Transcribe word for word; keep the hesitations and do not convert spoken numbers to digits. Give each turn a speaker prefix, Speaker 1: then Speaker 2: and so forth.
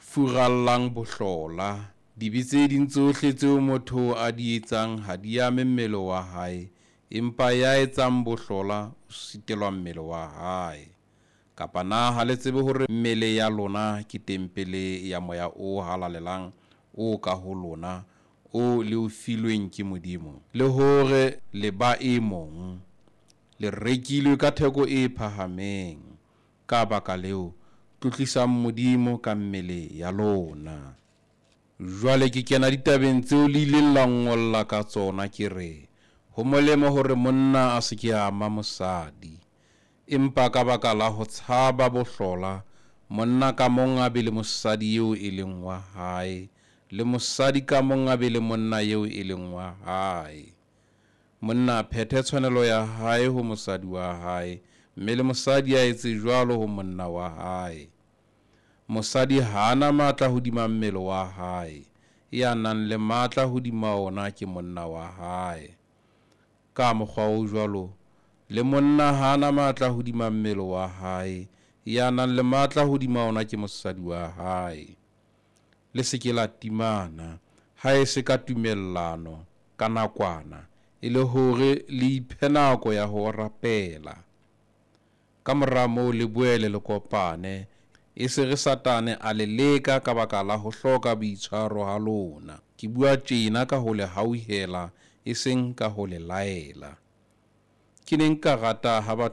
Speaker 1: Furallang bohlola. Dibe tse ding tsohle tseo motho a di etsang ha di ame mmele wa hae, empa ya etsang bohlola o sitelwa mmele wa hae. Kapa na ha le tsebe hore mmele ya lona ke tempele ya Moya o Halalelang o ka ho lona, o le o filweng ke Modimo, le hore le ba e mong? Le rekilwe ka theko e phahameng. Ka baka leo, tlotlisang Modimo ka mmele ya lona. Jwale ke kena ditabeng tseo le ileng la nngolla ka tsona, ke re, ho molemo hore monna a se ke a ama mosadi. Empa ka baka la ho tshaba bohlola, monna ka mong a be le mosadi eo e leng wa hae, le mosadi ka mong a be le monna eo e leng wa hae. Monna a phethe tshwanelo ya hae ho mosadi wa hae, mme le mosadi a etse jwalo ho monna wa hae. Mosadi ha a na matla hodima mmele wa hae, ya nang le matla hodima ona ke monna wa hae. Ka mokgwa o jwalo, le monna ha a na matla hodima mmele wa hae, ya nang le matla hodima ona ke mosadi wa hae. Le se ke la timana, ha e se ka tumellano, ka nakwana, e le hore le iphe nako ya ho rapela. Ka mora moo le boele le kopane, e se re Satane a le leka ka baka la ho hloka boitshwaro ha lona. Ke bua tjena ka ho le hauhela, e seng ka ho le laela. Ke ne nka rata ha batho